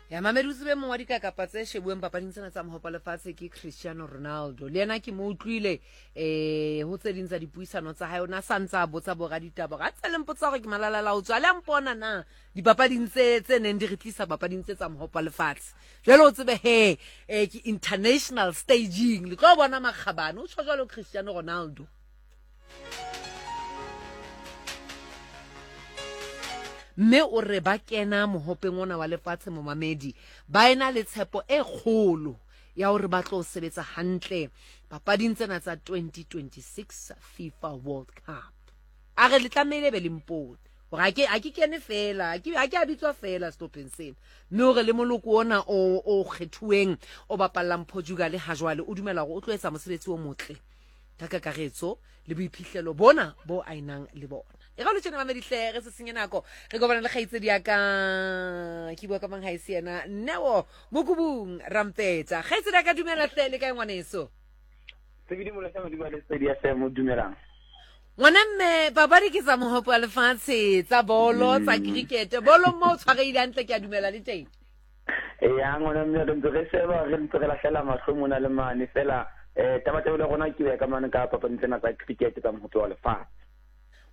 Ya mamedi o tsebe mong wa dikakapa tse shebuweng papading tsena tsa mohopa lefatshe ke Cristiano Ronaldo. Le yena ke mo utlwile eh ho tse ding tsa dipuisano tsa hae o na sa ntse a botsa boraditaba gore a tse le mpotsa gore ke malalala o tswa le a mpona na dipapading tse tse neng di re tlisa papading tse tsa mohopa lefatshe. Jwale o tsebe he eh ke international staging le tlo bona makgabane o tjho jwalo Cristiano Ronaldo. Mme o re ba kena mohopeng ona wa lefatshe momamedi ba ena le tshepo e kgolo ya hore ba tlo sebetsa hantle papading tsena tsa 2026 FIFA World Cup. A re le tlamehile be le mpone gore a ke a ke kene fela a ke a ke a bitswa fela sehlopheng sena mme hore le moloko ona o o kgethuweng o bapallang Portugal ha jwale o dumela hore o tlo etsa mosebetsi o motle ka kakaretso le boiphihlelo bona bo a enang le bona. E ga lo tjena mamedihle re se senye nako re kopana le kgaitsedi ya ka ke bua ka mang ha e se yena Neo Mokubung Rampetsa. Kgaitsedi ya ka dumela hle le kae ngwaneso? Sebidi Molesa Modimo le Sedi FM dumelang. Ngwana mme papadi ke tsa mohopo wa lefatshe tsa bolo tsa cricket bolo mo o tshwarehile hantle ke a dumela le teng. Ya ngwana mme re ntse re sheba re ntse re lahlela mahlo mona le mane fela um tabatabelo ya rona ke ya ka mane ka papading tsena tsa cricket tsa mohope wa lefatshe.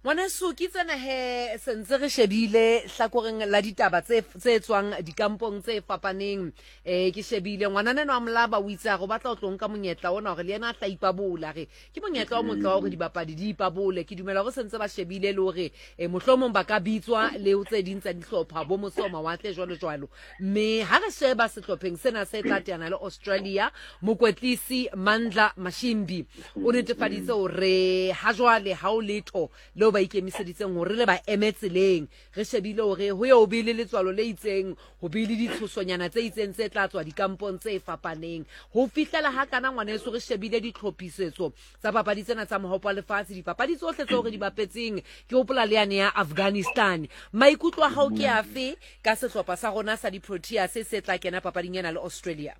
Ngwaneso ke tsena he sentse re shebile hlakoreng la ditaba tse tse tswang dikampong tse fapaneng eh ke shebile ngwanana enwa wa Molaba o itse a re o batla ho tlo nka monyetla ona hore le yena a tla ipabola re ke monyetla o motle wa hore dibapadi di ipabole. Ke dumela hore sentse ba shebile le hore eh, mohlomong ba ka bitswa le ho tse ding tsa dihlopha bo mose ho mawatle jwalo jwalo. Mme ha re sheba sehlopheng sena se tla teana le Australia, mokwetlisi Mandla Mashimbi o netefaditse hore ha jwale ha o letho leo ba ikemiseditseng hore le ba eme tseleng. Re shebile hore ho ye ho be le letswalo le itseng, ho be le ditshosonyana tse itseng tse tla tswa dikampong tse fapaneng. Ho fihlela ha kana ngwaneso re shebile ditlhophisetso tsa papadi tsena tsa mohopo wa lefatshe, dipapadi tsohle tseo re di bapetseng, ke hopola le yane ya Afghanistan. Maikutlo a hao ke afe ka sehlopha sa rona sa di-Proteas se tla kena papading ena le Australia?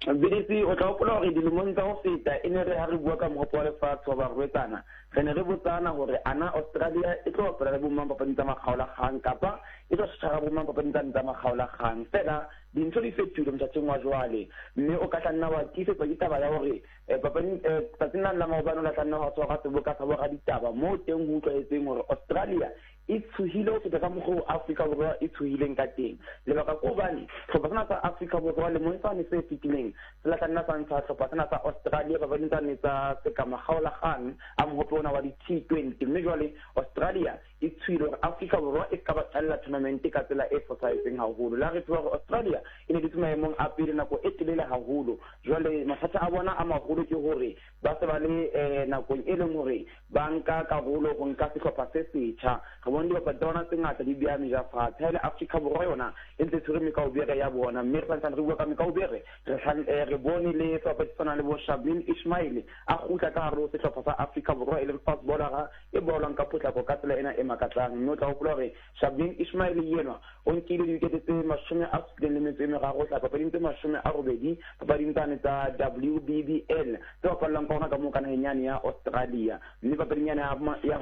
BDC, o tla hopola hore dilemong tsa ho feta e ne re ha re bua ka mohope wa lefatshe wa barwetsana, re ne re botsana hore ana Australia e tlo bapala le bomang papading tsa makgaolakgang kapa e tlo tshwara bomang papading tsane tsa makgaolakgang. Feela dintho di fetohile mothating wa jwale, mme o ka tla nna wa tiisetswa ke taba ya hore papading tsatsing lane la maobane o la tla nna wa tshwarwa seboka sa boraditaba moo teng ho utlwahetseng hore Australia e tshohile ho feta ka mokgwa oo Afrika Borwa e tshohileng ka teng. Lebaka ke hobane hlopha sena sa Afrika Borwa lemong sane se fetileng se la tla nna sa ntsha hlopha sena sa Australia papading tsane tsa sekamakgaolakgang a mohope ona wa di-T20 mme jwale Australia e tshohile hore Afrika Borwa e ska ba qalla tournament ka tsela e fosahetseng haholo. Le ha re tseba hore Australia e ne dutse maemong a pele nako e telele haholo, jwale mathata a bona a maholo ke hore ba se ba le nakong e leng hore ba nka karolo ho nka sehlopha se setjha. Re bone dibapadi tsa bona tse ngata di beha meja fatshe. Ha e le Afrika Borwa yona e ntse e tshwere mekaubere ya bona, mme re santsane re bua ka mekaubere, re re bone le sebapadi se tshwanang le bo Shabnim Ismail a kgutla ka hare ho sehlopha sa Afrika Borwa e leng fast bowler-a e bowlwang ka potlako ka tsela ena e makatsang. Mme o tla hopola hore Shabnim Ismail enwa o nkile diwikete tse 73 ho tla papading tse 80 papading tsane tsa WBBL tse bapallwang ka hona ka moo ka naheng yane ya Australia. Mme papading yane ya, ya,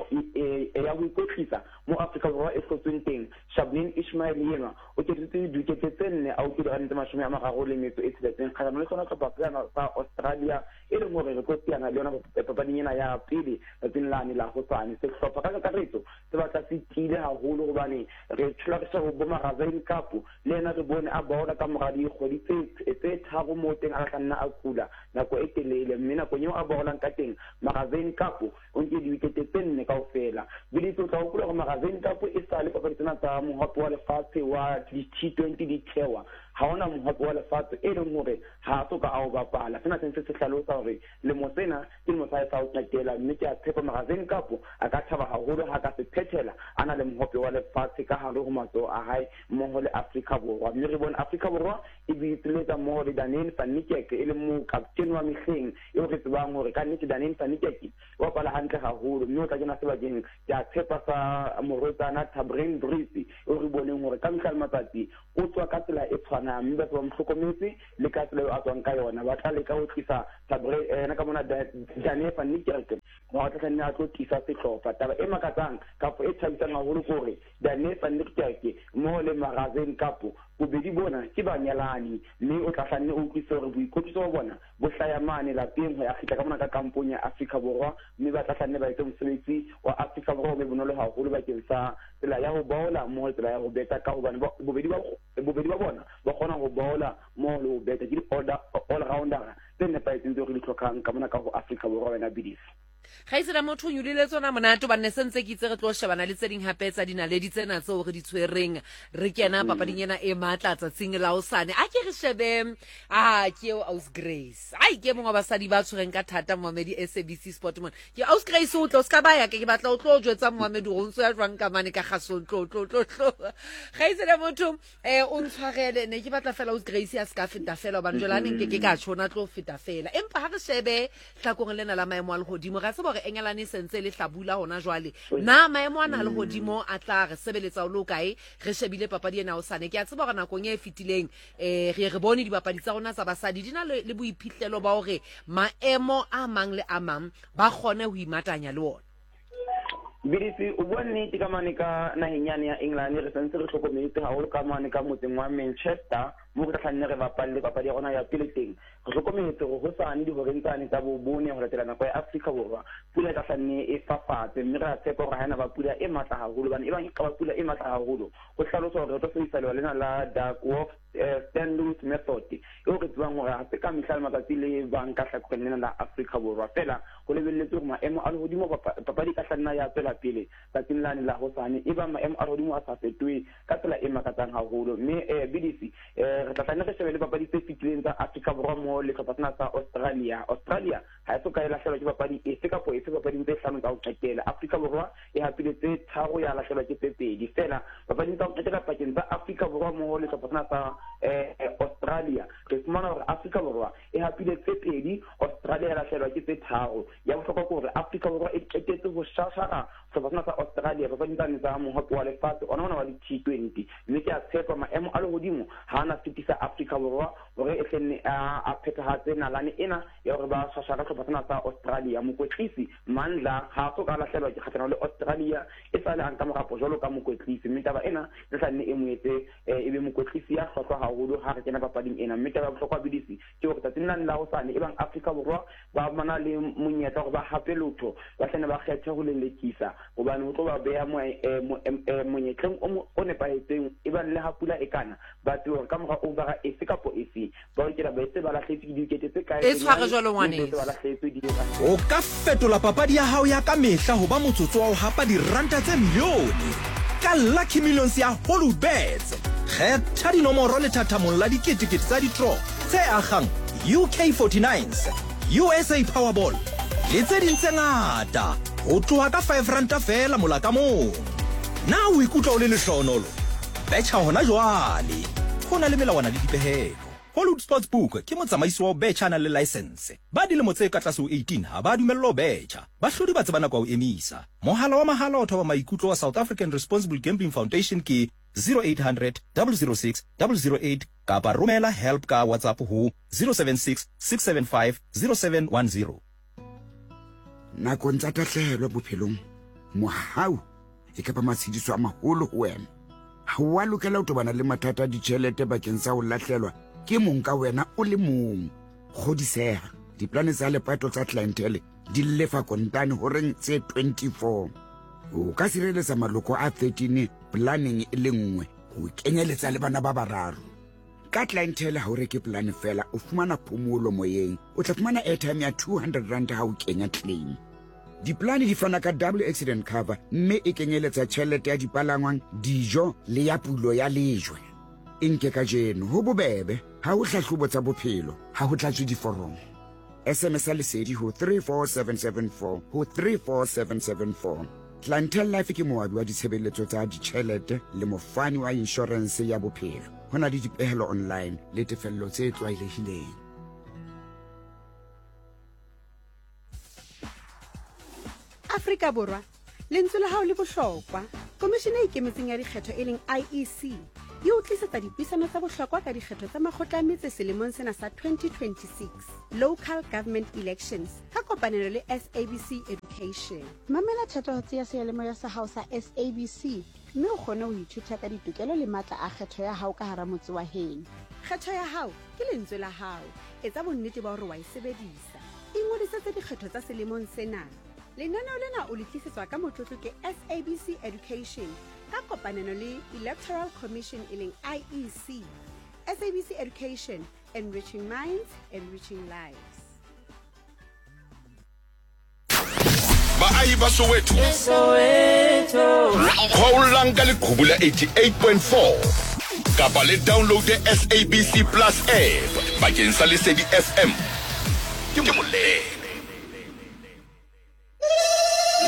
ya ho ikwetlisa mo Afrika Borwa e hlotsweng teng, Shabnim Ismail enwa o ketsitse diwikete tse nne a utlwe dirane tse 36 kgahlano le sona hlopha sena sa Australia e leng hore re tlo teana le yona papading ena ya pele tsatsing lane la hosane. Sehlopha ka kakaretso se batla se tiile haholo hobane re thola re sheba bo Marazane Cup le yena re bone a baola ka mora dikgwedi tse tse tharo moo teng a tla nna a kula nako e telele mme nakong eo a baolang ka teng Marazane Cup o nke diwikete tse nne kaofela. Biditse o tla hopola hore Marazane Cup e sale papadi tsena tsa mohope wa lefatshe wa di-T20 di thewa ha hona mohope wa lefatshe e leng hore ha a so ka a o bapala. Sena se ntse se hlalosa hore lemo sena ke lemo sa hae sa ho qetela mme ke a tshepa Marazane Cup a ka thaba haholo ha ka se phethela a na le mohope wa lefatshe ka hare ho matsoho a hae mmoho le Afrika Borwa. Mme re bone Afrika Borwa e boipiletsa mmoho le Daniel van Niekerk e leng mokaptene wa mehleng eo re tsebang hore ka nnete Daniel van Niekerk o bapala hantle haholo mme o tla kena sebakeng ke a tshepa sa morwetsana Tabryn Brits eo re boneng hore ka mehla le matsatsi o tswa ka tsela e tshwanang mme batho ba mo hlokometse le ka tsela eo a tswang ka yona. Ba tla leka ho tlisa Tabre, yena ka mona Dane van Niekerk Hore a tla nne a tlo tiisa sehlopha. Taba e makatsang kapa e thabisang haholo ke hore Dane van Niekerk mmoho le Marizanne Kapp bobedi bona ke banyalani mme o tla hla nne o utlwisise hore boikwetliso ba bona bo hlaya mane lapeng ho ya kgitla ka mona ka kampong ya Afrika Borwa mme ba tla hla nne ba etse mosebetsi wa Afrika Borwa o be bonolo haholo bakeng sa tsela ya ho baola mmoho le tsela ya ho beta ka hobane bobedi ba bobedi ba bona ba kgona ho baola mmoho le ho beta ke di-all-roundera tse nepahetseng tseo re di hlokang ka mona ka ho Afrika Borwa wena Bidis. Kgaitsedi motho o nyolile tsona monate hobane ne se ntse ke itse re tlo shebana le tse ding hape tsa dinaledi tsena tseo re di tshwereng re kena papading ena e matla tsatsing la hosane. A ke re shebe a ke eo Aus Grace. Ai ke mongwe wa basadi ba tshwereng ka thata momamedi SABC Sport mona. Ke Aus Grace o tlo o ska ba ya ke batla o tlo jwetsa momamedi hore o ntso ya jwang ka mane ka kgasong tlo tlo tlo tlo. Kgaitsedi motho Eh o ntshwarele ne ke batla fela o Grace a ska feta fela hobane jwale a ne nke ke ka tjho na tlo feta fela. Empa ha re shebe hlakoreng lena la maemo a lehodimo re a tseba hore Engelane e sentse e le hlabula hona jwale. Na maemo ana a lehodimo a tla re sebeletsa o le hokae re shebile papadi ena hosane? Ke a tseba hore nakong e fetileng eh re ye re bone dibapadi tsa rona tsa basadi di na le le boiphihlelo ba hore maemo a mang le a mang ba kgone ho imatanya le ona. BDC, o bua nnete ka mane ka naheng yane ya England, re santse re hlokometse haholo ka mane ka motseng wa Manchester, moo re tla hlanne re bapalle papadi ya rona ya pele teng. Re hlokometse hore hosane dihoreng tsane tsa bobone ho latela nako ya Afrika Borwa, pula e tla hlanne e fafatse, mme re a tshepa hore ha ena ba pula e matla haholo, hobane ebang e ka ba pula e matla haholo, ho hlaloswa hore re tlo sebedisa lewa lena la Duckworth Stanley's method, eo re tsebang hore ha se ka mehla le matsatsi le bang ka hlakoreng lena la Afrika Borwa. Feela ho lebelletswe hore maemo a lehodimo papadi e ka hla nna ya tswela pele tsatsing lane la hosane ebang maemo a lehodimo a sa fetohe ka tsela e makatsang haholo. Mme BDC, re tla tla nne re shebe le papadi tse fetileng tsa Afrika Borwa mmoho le hlopha sena sa Australia. Australia ha e so ka e lahlehelwa ke papadi efe kapa efe papading tse hlano tsa ho qetela. Afrika Borwa e hapile tse tharo ya lahlehelwa ke tse pedi feela papading tsa ho qetela pakeng tsa Afrika Borwa mmoho le sehlopha sena sa Australia. Re fumana hore Afrika Borwa e hapile tse pedi, Australia ya lahlehelwa ke tse tharo. Ya bohlokwa ke hore Afrika Borwa e qetetse ho shashara sehlopha sena sa Australia papading tsane tsa Mohope wa Lefatshe ona ona wa di-T20. Mme ke a tshepa maemo a lehodimo ha a na sitisa Afrika Borwa hore e hle nne a phethahatse nalane ena ya hore ba shashara sehlopha sena sa Australia. Mokwetlisi Mandla ha a so ka a lahlehelwa ke kgahlano le Australia esale a nka morapo jwalo ka mokwetlisi, mme taba ena e tla nne e mo etse e be mokwetlisi ya hlwahlwa haholo ha re kena papading ena. Mme taba ya bohlokwa BDC ke hore tsatsing lane la hosane ebang Afrika Borwa ba na le monyetla hore ba hape lotho, ba hlane ba kgethe ho lelekisa hobane ho tlo ba beha monyetleng o nepahetseng ebang le ha pula e kana, ba tsebe hore ka mora overa efe kapo efe ba lokela ba etse ba lahlehetswe ke diwikete tse kae E tshware bonyane jwalo mme se ngwaneso. ba lahlehetswe di O ka fetola papadi ya hao ya ka mehla ho ba motsotso wa ho hapa diranta tse milione ka Lucky Millions ya Hollywoodbets. Kgetha dinomoro lethathamong la diketekete tsa ditro tse akgang UK 49s, USA Powerball le tse ding tse ngata ho tloha ka R5 feela mola ka mong. Na o ikutlwa o le lehlohonolo? Betjha hona jwale! Ho na le melawana le dipehelo. Hollywood Sportsbook ke motsamaisi wa ho betjha a nang le laesense. Ba dilemo tse ka tlase ho 18 ha ba dumellwa ho betjha. Bahlodi ba tseba nako ya ho emisa. Mohala wa mahala wa thoba maikutlo wa South African Responsible Gambling Foundation ke 0800 006 008 kapa romela help ka WhatsApp ho 076 675 0710. Nakong tsa tahlehelo bophelong, mohau e ka ba matshediso a maholo ho wena. Ha o a lokela ho tobana le mathata a ditjhelete bakeng sa ho lahlelwa ke mong ka wena o le mong. Kgodiseha, diplane tsa lepato tsa Clientele di lefa kontane horeng tse 24. O ka sireletsa maloko a 13 planeng e le nngwe ho kenyeletsa le bana ba bararo. Ka Clientele ha o reke polane fela, o fumana phomolo moyeng. O tla fumana airtime ya R200 ha o kenya claim. Diplane di fana ka double accident cover mme e kenyeletsa tjhelete ya dipalangwang, dijo le ya pulo ya lejwe. E nke kajeno, ho bobebe, ha ho hlahlobo tsa bophelo, ha ho tlatswe diforomo. SMS ya Lesedi ho 34774 ho 34774. Clientele Life ke moabi wa ditshebeletso tsa ditjhelete le mofani wa inshorense ya bophelo. Ho na le dipehelo online le tefello tse tlwaelehileng. Afrika Borwa, lentswe la hao le bohlokwa. Komishene e Ikemetseng ya Dikgetho e leng IEC e o tlisetsa dipuisano tsa bohlokwa ka dikgetho tsa makgotla a metse selemong sena sa 2026, Local Government Elections, ka kopanelo le SABC Education. Mamela thatohatsi ya seyalemoya sa hao sa SABC mme o kgone ho ithuta ka ditokelo le matla a kgetho ya hao ka hara motse wa heno. Kgetho ya hao ke lentswe la hao. Etsa bonnete ba hore wa e sebedisa. Ingodisetse dikgetho tsa selemong sena. Lenaneo lena o le tlisetswa ka motlotlo ke SABC Education ka kopanelo le Electoral Commission e leng IEC. SABC Education, enriching minds, enriching lives. Baahi ba Soweto, kgaollang ka leqhubu la 88.4 kapa le downloade SABC Plus app bakeng sa Lesedi FM. Ke molele.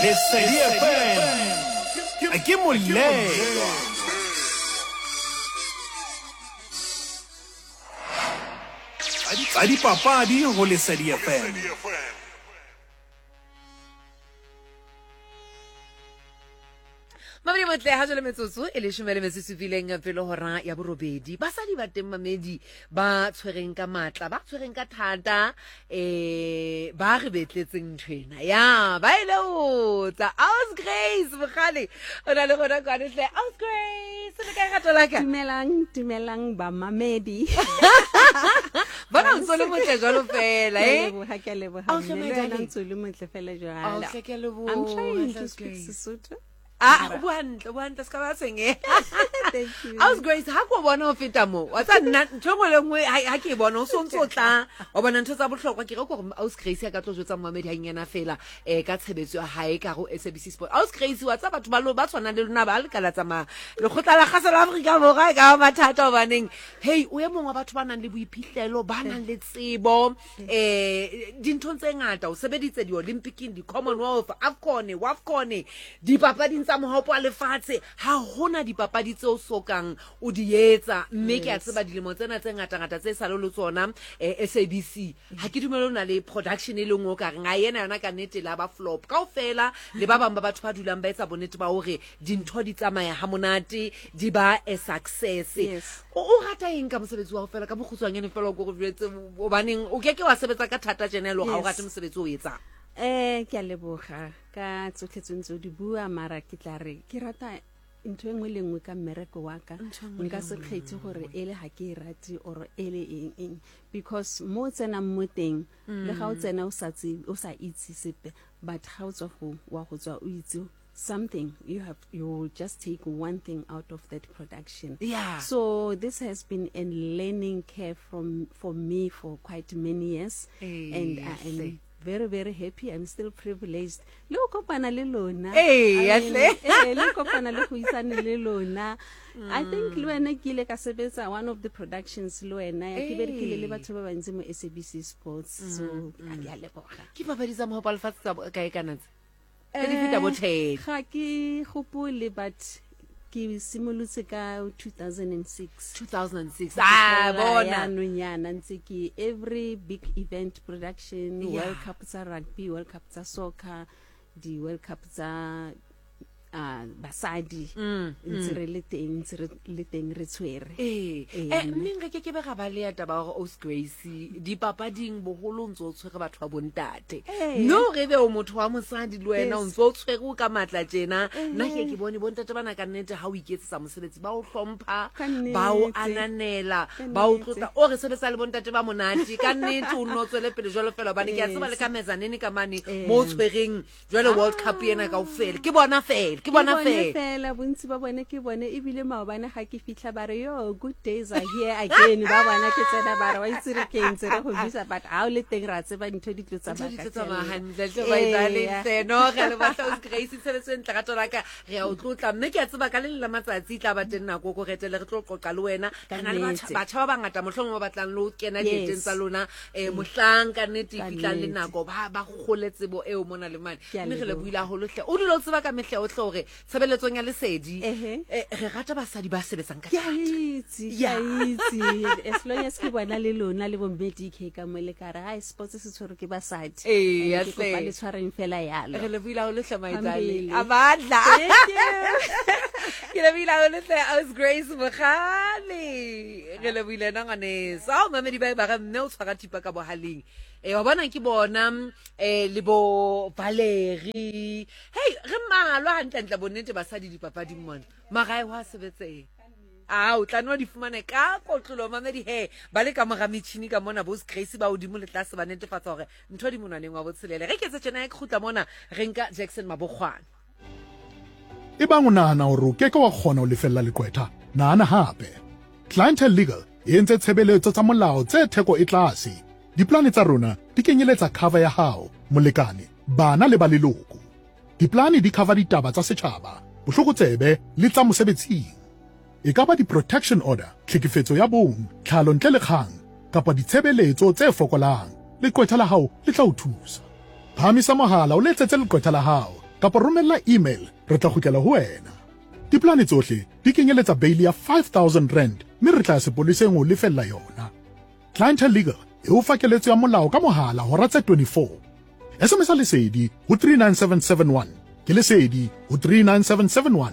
Lesedi FM ke molelwa. Tsa dipapadi go Lesedi FM. Mamedi motle ha jwale metsotso e leshome le metso e supileng pele hora ya borobedi. Basadi ba teng mamedi ba tshwereng ka matla, ba tshwereng ka thata, eh ba re betletseng nthwena. Ya, ba ile o tsa Aus Grace Mogale. O na le rona kwane hle. Aus Grace, le kae rato la ka? Dumelang, dumelang ba mamedi. Bona o ntse o le motle jwalo fela, eh? Ke a leboha. Ao hle, Mme my le wena darling. ntse o le motle fela jwalo. Ao hle, ke a leboha. I'm trying to Aus speak Grace. Sesotho. Ah, o bua hantle, o bua hantle, se ka ba tshwenyeha. Thank you. Aus Grace, ha ko bona ho feta moo, wa tseba nna ntho e nngwe le nngwe ha ke e bona, o so ntso o tla, wa bona ntho tsa bohlokwa. Ke re ke hore Aus Grace a ka tlo jwetsa momamedi hanyenyana fela, ka tshebetso ya hae ka ho SABC Sport. Aus Grace, wa tseba batho ba lo, ba tshwanang le lona ba le ka la tsamaya lekgotla la kgaso la Afrika Borwa e ka ba mathata hobaneng. Hey, o e mong wa batho ba nang le boiphihlelo, ba nang le tsebo, dinthong tse ngata. O sebeditse di-Olympicing, di-Commonwealth, AFCON, WAFCON, dipapading tsa mohopo wa lefatshe. Ha hona dipapadi tseo sokang o di etsa, mme ke a tseba dilemo tsena tse ngata-ngata tse sa le le tsona, SABC. Ha ke dumele o na le production e le nngwe o ka reng, a ena yona ka nnete la ba flop. Kaofela le ba bang ba batho ba dulang ba etsa bonnete ba hore dintho di tsamaya ha monate, di ba a success. Yes. O rata eng ka mosebetsi wa hao fela ka bokgutshwanyane fela o ko re jwetse, hobaneng o keke wa sebetsa ka thata tjena e le hore ha o Yes. rate mosebetsi o etsang? Ke a leboga ka tsotlhe tse ntse o di bua, mara ke tla re ke rata ntho e nngwe le nngwe ka mmereko wa ka. Ntho e nngwe le Nka se kgethe gore e le ha ke e rate or e le eng eng, because mo o tsenang mo teng, le ga o tsena o sa tsebe, o sa itse sepe, but ga o tswa go, wa go tswa o itse something, you will just take one thing out of that production. Yeah. So this has been a learning curve for me for quite many years, and I am Hle. very, very happy. I'm still privileged. Le ho kopana le lona. Ee, I mean, hle. le ho kopana le go isane le lona. I think le wena ke ile ka sebetsa one of the productions le wena, ya ke berekile le Ee. batho ba bantsi mo SABC Sports. So, ke a leboga. Ke papadi tsa mohopo wa lefatshe tsa kae kana tse? Tse di feta bo 10. Ga ke gopole, but ke simolotse ka 2006. 2006. Ah, Ke bona. Jaanong yana ntse ke every big event production, Yeah. World Cup tsa rugby, World Cup tsa soccer, di World Cup tsa basadi, ntse re le teng, ntse re le teng re tshwere. Ee. Ee, mme. Mme re keke be ra ba le ya taba ya hore Aus Grace dipapading boholo o ntse o tshwere batho ba bontate. Ee. No re be o motho wa mosadi le wena o Yes. ntse o tshwere o ka matla tjena. Nna ke ke bone bontate bana ka nnete ha o iketsetsa mosebetsi ba o hlompha, Ka nnete. ba o ananela, Ka ba o nnete. tlotla. O re sebetsa le bontate ba monate. Ka nnete o nno tswele pele jwalo fela hobane ke a tseba le Yes. ka mezanene ka mane Ee. mo o tshwereng jwale World Cup ena kaofela. Ke bona fela, ke bona Ke bone fela. fela, bontsi ba bone ke bone, ebile maobane ga ke fitlha ba re, yo, good days are here again. Ba bona ke tsena ba re, wa itse re ke ntse re go bisa, but ha o le teng ra tseba dintho di tlo Ntho tsamaya di ka tlo tsamaya tsela. hantle, hle ba etsa Ee. lentle. No, re a leboha hle, Aus Grace, tshebetso e ntle, rato la ka, re a o tlotla. Mme ke a tseba ka le leng la matsatsi e tla ba teng nako ko re etele, re tlo qoqa le wena. Ka Re na le nnete. batjha ba bangata mohlomong ba batlang le ho kena Yes. dieteng tsa lona, mohlang ka nnete e Ka fihlang le nnete. nako, ba kgole tsebo eo mona le mane. Ke a Mme re leboha. lebohile haholo hle. O dule o tseba ka mehla yohle hore tshebeletsong ya Lesedi, Ehe. re rata basadi ba sebetsang ka Ke a thata. itse, ke a Yeah. itse. As long as ke bona le lona le bo mme DK ka mo le ka re, hai, sports se tshwerwe ke basadi. Ee, And ke hle. kopa le tshwareng fela yalo. Re lebohile haholo hle, maitsane. Phambili. A batla. Thank you. Ke lebohile haholo hle Aus Grace Mogale. Re lebohile ena ngwaneso. Ao mamedi ba e ba re mme o tshwara thipa ka bohaleng. Eh wa bona ke bona eh le bo Valerie. Hey re mmalwa hantlentle bonnete basadi dipapading mona. Mara e hwa sebetseha. A o tla nwa di fumane ka kotlolo mamedi he ba le ka mora metjhini ka mona bo Grace ba hodimo le tlase ba netefatsa hore ntho di monwaneng wa botshelele. Re ketse tjena e kgutla mona re nka Jackson Mabokgwane. Ebang o nahana hore o ke ke wa kgona ho lefella leqwetha, nahana hape. Clientele Legal e entse tshebeletso tsa molao tse theko e tlase. Diplane tsa rona di kenyeletsa cover ya hao, molekane, bana le ba leloko. Diplane di cover ditaba tsa setjhaba, bohlokotsebe le tsa mosebetsing. E ka ba di-protection order, tlhekefetso ya bong, tlhalo ntle le kgang, kapa ditshebeletso tse fokolang, leqwetha la hao le tla o thusa. Phahamisa mohala o letsetse leqwetha la hao kapa romella email re tla kgutlela ho wena. Diplane tsohle di kenyeletsa beili ya R5000 mme re tla ya sepoleseng ho o lefella yona. Clientele Legal e o fa keletso ya molao ka mohala hora tse 24. SMS-a Lesedi ho 39771. Ke Lesedi ho 39771.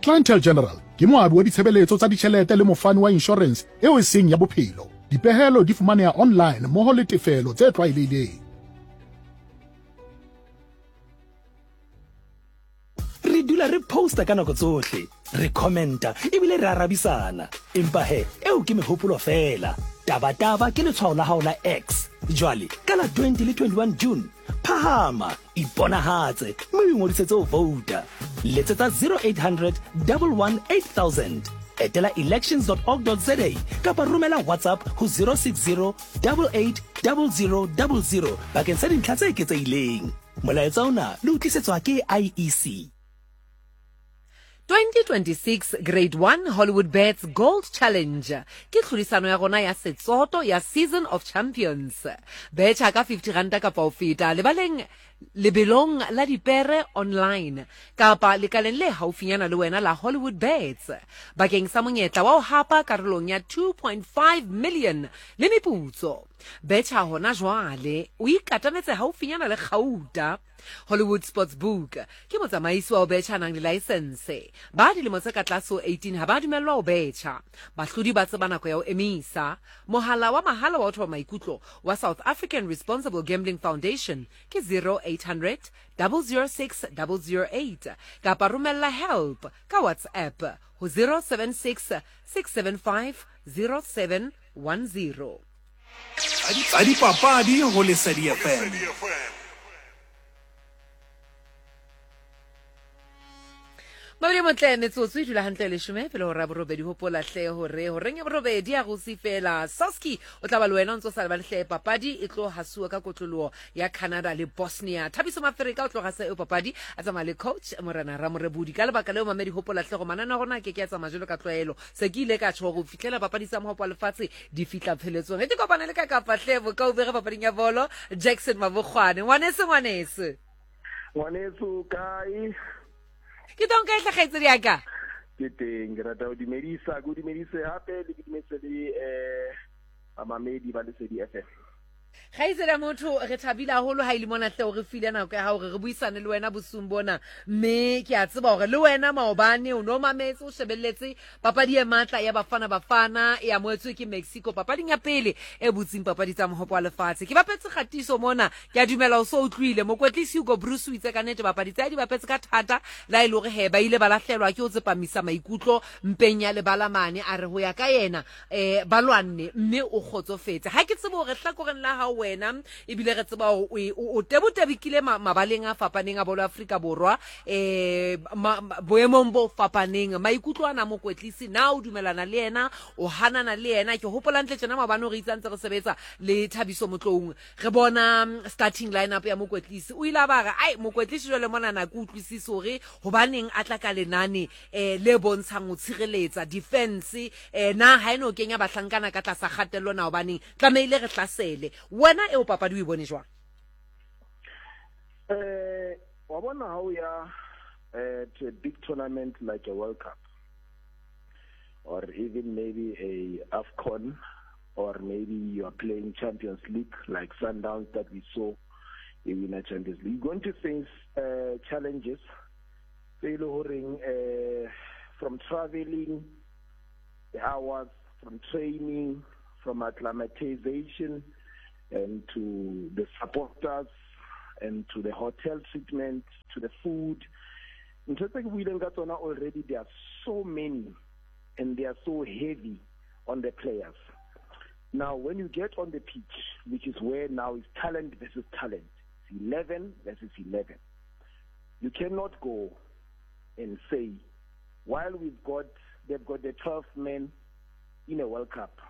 Clientele General ke moabi wa ditshebeletso tsa ditjhelete le mofani wa inshorense eo e seng ya bophelo. Dipehelo di fumaneha online mmoho le tefelo tse tlwaelehileng. Re dula re posta ka nako tsohle, re commenta ebile re arabisana. Empa he, eo ke mehopolo feela. Tabataba ke letshwao la hao la X. Jwale, ka la 20 le 21 June, phahama, iponahatse mme o ingodisetse ho vouta. Letsetsa 0800 11 8000. Etela elections.org.za kapa romela WhatsApp ho 060 88 00 00 bakeng sa dintlha tse eketsehileng. Molaetsa ona le o tlisetswa ke IEC. 2026 Grade 1 Hollywood Bets Gold Challenge ke tlhodisano ya rona ya setsoto ya Season of Champions. Betjha ka 50 ranta kapa ho feta lebaleng lebelong la dipere online kapa lekaleng le haufinyana le wena la Hollywood Bets bakeng sa monyetla wa ho hapa karolong ya 2.5 million le meputso. Betjha hona jwale o ikatametse haufinyana le kgauta. Hollywood Sportsbook ke motsamaisi wa ho betjha nang le laesense. Ba dilemo tse ka tlase ho 18 ha ba dumellwa ho betjha. Bahlodi ba tseba nako ya ho emisa. Mohala wa mahala wa ho thoba maikutlo wa South African Responsible Gambling Foundation ke 0800 006 008 kapa romella help ka WhatsApp ho 076 675 0710. Tsa dipapadi ho Lesedi FM. Mabedi motle metsotso e dula hantle leshome pele hora borobedi. Hopola hle hore horeng ya borobedi ya go se fela Soski o tla ba le wena o ntse o sa lebale hle papadi e tlo hasuwa ka kotloloho ya Canada le Bosnia. Thabiso Mafereka o tlo gasa eo papadi a tsamaya le coach Morena Ramorebudi. Ka lebaka leo mamedi hopola hle go manane a rona a ke ke a tsamaya jwalo ka tlwaelo. Se ke ile ka tjho go fihlela papadi tsa mohopo wa lefatshe di fihla pheletsong. Ge ke kopane le ka kapa hle bokaubere papading ya bolo Jackson Mabokgwane. Ngwaneso ngwaneso. Ngwaneso kae? Ke tong kae hle kgaitsedi ya ka? Ke teng, ke rata ho dumedisa, ke o dumedise hape le ke dumedise le eh bamamedi ba Lesedi FM. Kgaitsedi ya motho, re thabile haholo ha e le mona hle o re file nako ya hao re re buisane le wena bosiung bona. Mme ke a tseba hore le wena maobane o no mametse o shebelletse papadi e matla ya Bafana Bafana e amohetswe ke Mexico papading ya pele e butseng papadi tsa mohopo wa lefatshe. Ke bapetse kgatiso mona, ke a dumela o so utlwile. Mokwetlisi Hugo Broos o itse ka nnete bapadi tsa di bapetse ka thata le ha e le hore he ba ile ba lahlelwa ke ho tsepamisa maikutlo mpeng ya lebala mane. A re ho ya ka yena um ba lwanne mme o kgotsofetse. Ha ke tsebe hore hlakoreng la hao wena, ebile re tseba hore o tebotebekile mabaleng a fapaneng a bolo Afrika Borwa, um boemong bo fapaneng. Maikutlo ana mokwetlisi, na o dumelana le yena, o hanana le yena? Ke hopola ntle tjena maobane hore itse a ntse re sebetsa le Thabiso Motloung, re bona starting lineup ya mokwetlisi. O ile a ba re, ai, mokwetlisi jwale monana ke utlwisise hore hobaneng a tla ka lenane eh le bontshang ho tshireletsa defense eh na ha eno kenya bahlankana ka tlasa kgatello na hobaneng tlamehile re hlasele. Wena eo papadi o e bone jwang? Eh wa bona ha o ya eh to a big tournament like a World Cup or even maybe a AFCON or maybe you are playing Champions League like Sundowns that we saw a winner Champions League. You're going to face challenges tse e le horeng eh. From traveling, the hours, from training, from acclimatization, and to the supporters, and to the hotel treatment, to the food. Ntho tse ke buileng ka tsona already, there are so many and they are so heavy on the players. Now, when you get on the pitch, which is where now is talent versus talent, it's 11 versus 11. You cannot go and say, while we've got, they've got the 12 men in a World Cup,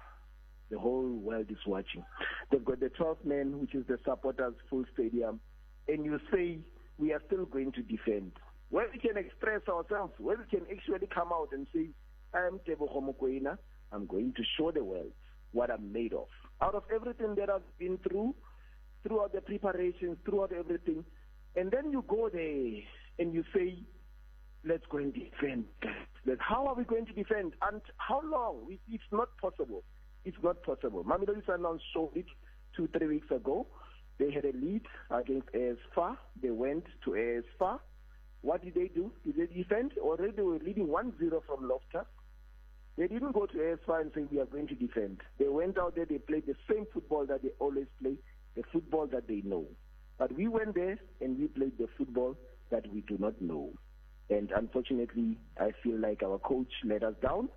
the whole world is watching. They've got the 12 men, which is the supporters' full stadium, and you say, we are still going to defend. Where we can express ourselves, where we can actually come out and say, I am Teboho Mokoena, I'm going to show the world what I'm made of. Out of everything that I've been through, throughout the preparations, throughout everything, and then you go there and you say, let's go and defend. How are we going to defend? And how long? It's not possible. It's not possible. Mamelodi Sundowns showed it 2-3 weeks ago. They had a lead against AS FAR. They went to AS FAR. What did they do? Did they defend? Already they were leading 1-0 from Loftus. They didn't go to AS FAR and say, we are going to defend. They went out there, they played the same football that they always play, the football that they know. But we went there and we played the football that we do not know. And unfortunately, I feel like our coach let us down.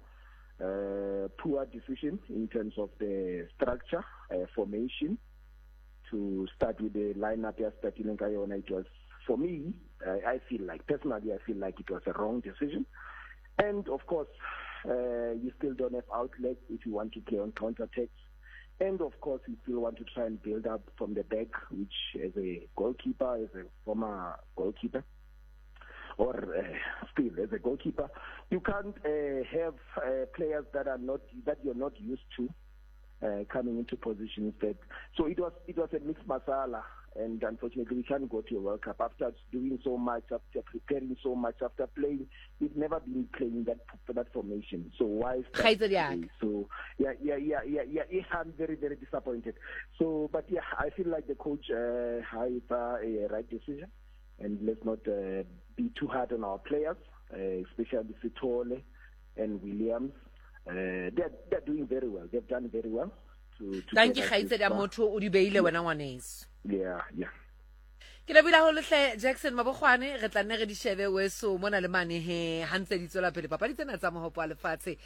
Poor decision in terms of the structure, formation. To start with the lineup, it was, for me, I feel like, personally, I feel like it was a wrong decision. And, of course, you still don't have outlets if you want to play on counter-attacks. And, of course, you still want to try and build up from the back, which as a goalkeeper, as a former goalkeeper, or still as a goalkeeper, you can't have players that are not, that you're not used to coming into positions that. So it was a mixed masala, and unfortunately we can't go to a World Cup after doing so much, after preparing so much, after playing. We've never been playing that formation. So why start today? So yeah. I'm very, very disappointed. So, but yeah, I feel like the coach had a right decision, and let's not be too hard on our players, especially Sithole and Williams. They're doing very well. They've done very well. To Thank you, Kgaitsedi motho o di beile wena ngwaneso. Yeah, yeah. Ke lebohile haholo hle Jackson Mabokgwane, re tla nne re di shebe weso mona le mane he ha ntse di tswela pele papadi tsena tsa mohopo wa lefatshe.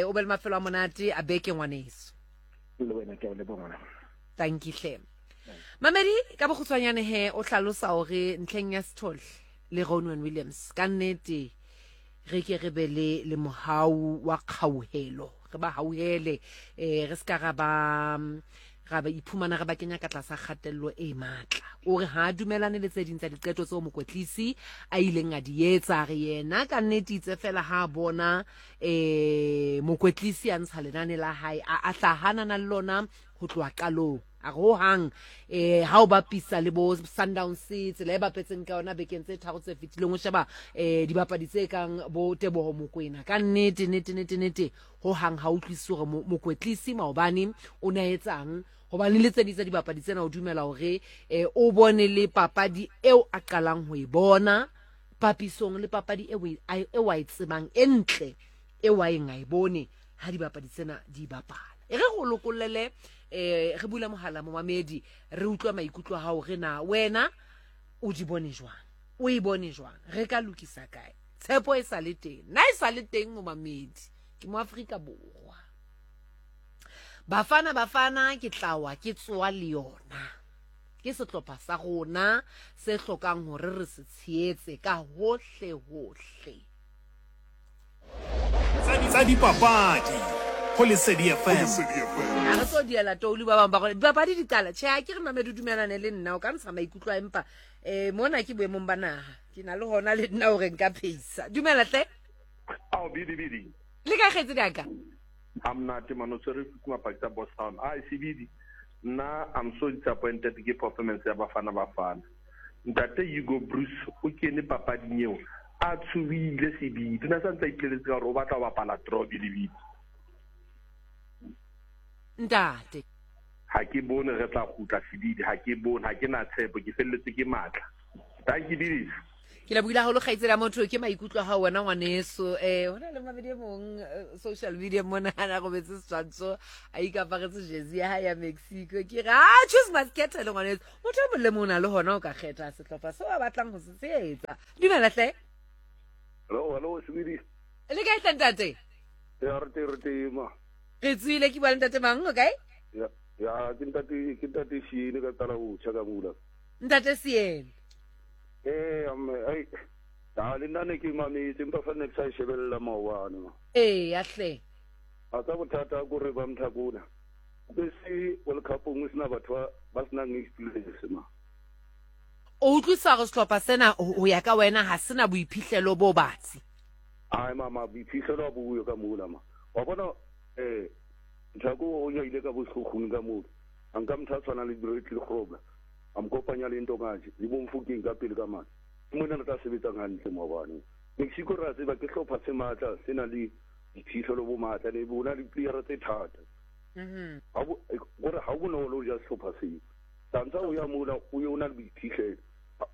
O be le mafelo a monate a beke ngwaneso. Le wena ke a o leboha ngwana. Thank you hle. Mamedi ka bokgutshwanyane he o hlalosa hore ntlheng ya Sithole le Ronwen Williams ka nnete re ke re be le le mohau wa kgauhelo, re ba hauhele, re ska ra ba ra ba iphumana re ba kenya ka tlasa kgatello e matla. O re ha dumelane le tse ding tsa diqeto tseo mokwetlisi a ileng a di etsa, re yena ka nnete itse fela ha bona mokwetlisi a ntsha lenane la hae a hlahanana le lona ho tloha qalong. A re hohang ha o bapisa le bo Sundowns tsela e bapetseng ka yona bekeng tse tharo tse fetileng, o sheba dibapadi tse kang bo Teboho Mokoena ka nnete nnete nnete nnete hohang ha utlwisise hore mokwetlisi maobane o ne a etsang, hobane le tse ding tsa dibapadi tsena o dumela hore o bone le papadi eo a qalang ho e bona papisong le papadi eo a e tsebang e ntle eo a eng a e bone ha dibapadi tsena di bapala. E re go lokollele re bula mohala momamedi re utlwa maikutlo a hao re na wena o di bone jwang, o e bone jwang, re ka lokisa kae, tshepo e sa le teng na e sa le teng momamedi, ke mo Afrika Borwa. Bafana Bafana ke tlawa ke tsoa le yona, ke sehlopha sa rona se hlokang hore re se tshehetse ka hohle hohle. Tsa dipapadi ho Lesedi FM. Ha re tlo diela toulu ba bang ba gore dipapadi di qala. Tjhe, ha ke re mamedi o dumelane le nna, o ka ntsha maikutlo a empa mona ke boemong ba naha. Ke na le hona le nna hore nka phehisa. Dumela hle. Ao bidi bidi. Le ka kgaitsedi ya ka? Ha monate mano tshwere kuma pakisa boss town. Ai sebidi. Nna I'm so disappointed ke performance ya Bafana Bafana. Ntate Hugo Bruce o kene papading eo a tshohile sebidi. O ne a sa ntse a ipoleletse ka hore o batla ho bapala draw bidi bidi. Ntate. Ha ke bone re tla kgutla sebidi, ha ke bone, ha ke na tshepo, ke felletswe ke matla. Thank you, Bidis. Ke lebohile haholo kgaitsedi ya motho, ke maikutlo a hao wena ngwaneso. Ho na le mamedi e mong social media mona a na robetse setshwantsho a ikaparetse jersey ya hae ya Mexico. Ke re, ah, choose must khetha le ngwaneso. Motho e mong le mong o na le hona o ka kgetha sehlopha seo a batlang ho se tshehetsa. Dumela hle. Hello, hello, Sebidi. Le kae hle ntate? Ya, re teng, re teng, ma. Re tsoile, ke bua le ntate mang, o kae? Ya, ya, ke ntate, ke ntate Siene ka tala botjha ka mula. Ntate Siene. Ee, amme, ai, a le nna ne ke mametse, empa fa ne ke sa e shebella maobane ma. Ee, ya hle. A tsa bothata ko re ba mthakona. O ke se World Cup o sena batho ba ba senang experience ma. O utlwisa hore sehlopha sena ho ya ka wena ha sena boiphihlelo bo batsi. Ai mama, boiphihlelo ha bo yo ka mola ma. Wa bona eh Mthako o ile ka bo Sekhukhune ka mola. A nka motho a tshwanang le Bradley Grobler. A mo kopanya le Ntongaji le bo Mofokeng ka pele ka mane. Ke mona re tla sebetsang hantle maobane. Mexico re a tseba ke hlopha se matla, se nang le diphihlelo bo matla, ne bo na le diplayera tse thata. Ha bo, kore ha ho bonolo ho ja sehlopha seo. Tantsa o ya mola o ye o na le boiphihlelo.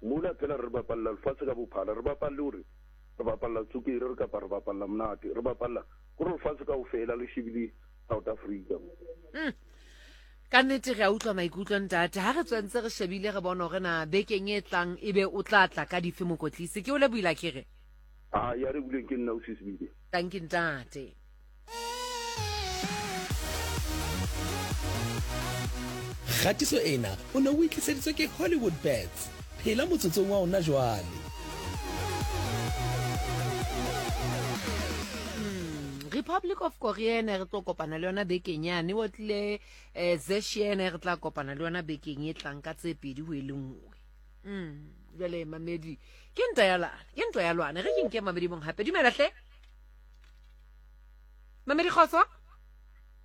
Mola phela re bapalla lefatshe ka bophara, re bapalle hore re bapalla tswekere re kapa re bapalla monate, re bapalla kore lefatshe kaofela le shebile South Africa. Ka nnete re a utlwa maikutlo ntate. Ha re tswentse re shebile re bona hore na bekeng e tlang ebe o tla tla ka dife mokotlisi. Ke o lebohile akere? Ah, ya re buleng ke nna o sisibile. Thank you ntate. Kgatiso ena o ne o e tliseditswe ke Hollywood Bets. Phela motsotsong wa ona jwale. Republic of Korea ene re tlo kopana le yona bekeng yane o tlile eh Zeshiene re tla kopana le yona bekeng e tlang ka tse pedi ho e le nngwe. Jwale mamedi ke ntwa ya lwana, ke ntwa ya lwana. Re ke nke mamedi mong hape. Dumela hle. Mamedi kgotso.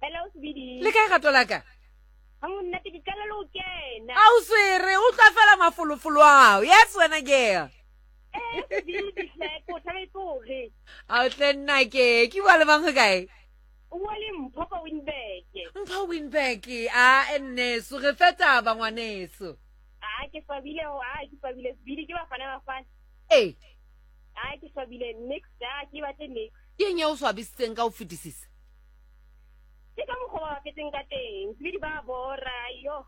Hello Sibidi. Le kae rato la ka? Ha monate ke qala le ho kena. A o swere, o utlwa fela mafolofolo ao. Yes wena girl. Eh Sibidi hle, ke o thabetse hore. A o tle nna ke, ke bua le mang ho kae? O bua le Mpho ka Winburg. Mpho Winburg, a nneso re fe taba ngwaneso. A ke swabile ho, a ke swabile Sibidi ke bafana bafana. Ee. A ke swabile nix, a ke batle nix. Ke eng e o swabisitseng ka ho fetisisa? Ke ka mokgwa ba bapetseng ka teng. Sibidi ba bora, yo.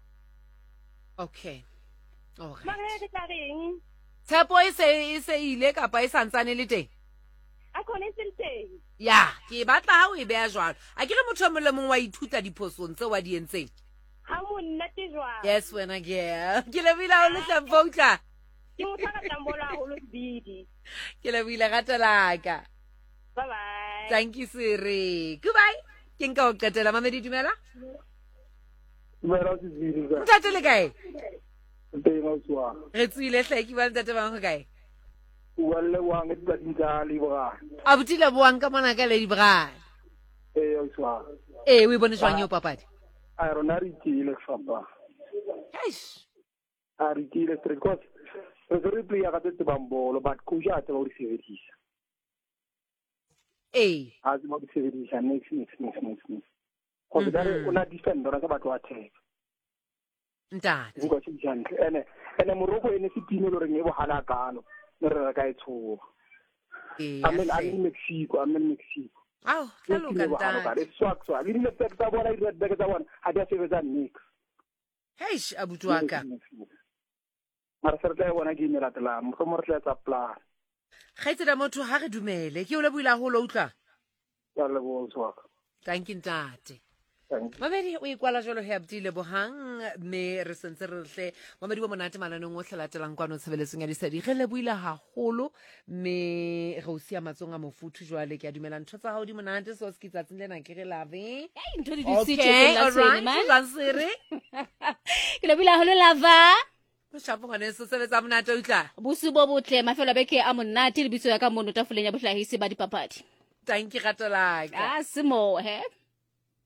Okay. All right. Mara re tla reng? Tshepo e se e se ile kapa e santsane le teng? A khone e se le teng. Ya, ke batla ha o e beha jwalo. A ke re motho e mong le mong wa ithuta diphosong tseo a di entseng. Ha monate jwang. Yes wena girl. Ke lebohile haholo hle Mpho utlwa. Ke motho a ratang bolo haholo Sibidi. Ke lebohile rato la ka. Bye bye. Thank you Siri. Goodbye. Ke nka ho qetela mamedi dumela. Dumela Sibidi. Ntate le kae? Teng ausi wa. Re tswile hle ke bua le ntate bang ho kae? O bua le Lebohang ditsatsing tsa Lady Braai. Abuti Lebohang ka mona ka Lady Braai. Ee ausi wa. Ee o e bone jwang eo papadi? A rona re itiile fapa. Eish. A re itiile straight because re se re player ka tse tsebang bolo but coach a tseba ho di sebedisa. Ee. A tseba ho di sebedisa next next next next next. Go ka re o na defend rona ka batho ba attack. Ntate. Nka se hantle. Ene ene Morocco e ne se team e loreng e bohala kalo. Ne re ka e tshoha. Ee. I mean, I mean Mexico, I mean Mexico. Ao, tla loka ntate. E swak swak. Le di-left back tsa bona, di-right back tsa bona, ha di a sebetsa nix. Heish, abuti wa ka. Mara se re tla e bona game e latelang, mohlomong re tla etsa plan. Kgaitsedi ya motho ha re dumele. Ke o lebohile haholo utlwa. Ke a leboha ausi wa ka. Thank you ntate. Thank you. Mamedi o ikwala jalo he abuti Lebohang mme re sentse re hle mamedi bo monate mananeng ohle latelang kwano tshebeletsong ya Lesedi. Re lebohile haholo mme re o siya matsong a mofuthu jwale. Ke a dumela ntho tsa hao di monate so se ke tsatsing lena ke re love. Ei, ntho di dutse Okay, tjekeng la all tshwene, right. man. Jwang Sere? Ke lebohile haholo lava. Shapo ngwaneso sebetsa monate utlwa. Bosiu bo botle, mafelo a beke a monate le bitso ya ka mono tafoleng ya bohlahisi ba dipapadi. Thank you rato la ka. Ah, se mo he.